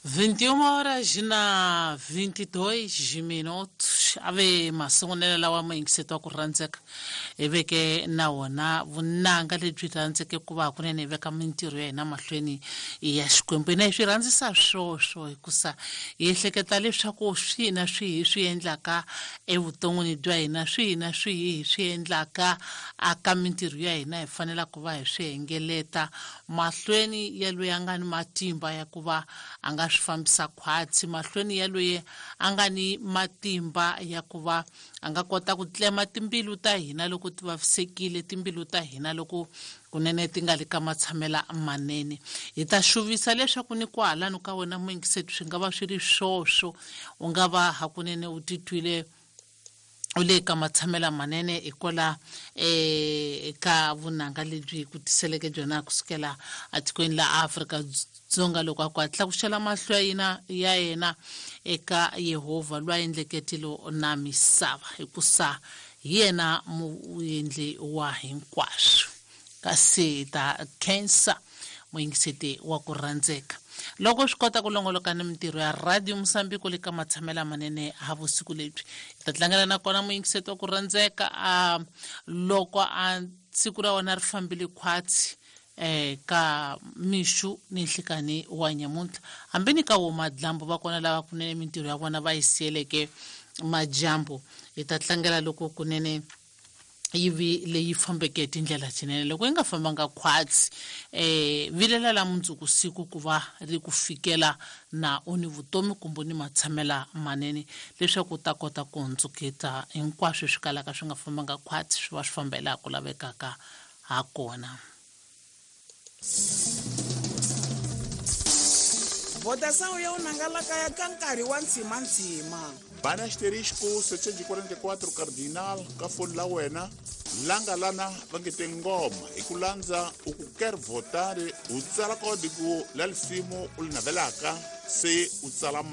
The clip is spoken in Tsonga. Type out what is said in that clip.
21 horas na 22 minutos. Ave masungulela lawa muyingiseti wa ku rhandzeka hi veke na wona vunanga lebyi rhandzeke ku va kunene hi veka mintirho ya hina mahlweni ya Xikwembu. Hina hi swi rhandzisa swoswo hikusa hi ehleketa leswaku swihi na swihi hi swi endlaka evuton'wini bya hina, swihi na swihi hi swi endlaka aka mintirho ya hina hi fanela ku va hi swi hengeleta mahlweni ya loyi a nga ni matimba ya ku va a nga swi fambisa khwatsi, mahlweni ya loyi a nga ni matimba ya ku va a nga kota ku tlema timbilu ta hina loko ti vavisekile, timbilu ta hina loko kunene ti nga le ka matshamela manene. Hi ta xuvisa leswaku ni kwahalano ka wena muyingiseti swi nga va swi ri swoswo, u nga va hakunene u titwile u le ka matshamela manene hikwala eka vunanga lebyi ku tiseleke byona kusukela etikweni la Afrika Dzonga loko a ku a tlakuxela mahlo ya yena ya yena eka Yehovha loyi a endleke tilo na misava, hikusa hi yena muendli wa hinkwaswo. Kasi hi ta khensa muyingiseti wa ku rhandzeka loko swi kota ku longoloka ni mintirho ya Radio Mosambiko le ka matshamela manene ha vusiku lebyi. Hi ta tlangela na kona muyingiseti wa ku rhandzeka a loko a siku ra wena ri fambile khwatsi ka mixu ni nhlikani wa nyamuntlha, hambi ni ka wo madlambu va kona lava kunene mintirho ya vona va yi siyeleke majambu. Hi ta tlangela loko kunene yi vi leyi fambeke hi tindlela tinene. Loko yi nga fambanga khwatsi, vilela la mundzuku siku ku va ri ku fikela na u ni vutomi kumbe u ni matshamela manene leswaku u ta kota ku hundzuketa hinkwaswo swi kalaka swi nga fambanga khwatsi swi va swi famba hi laha ku lavekaka ha kona. Votação ya unangalakaya ka nkarhi wa ntshimantshima. Bana asterisco 744 cardinal ka foni la wena langa lana va nge te ngoma hi ku landza u ku ker votare u tsala kodiku la lisimu u li navelaka se u tsala.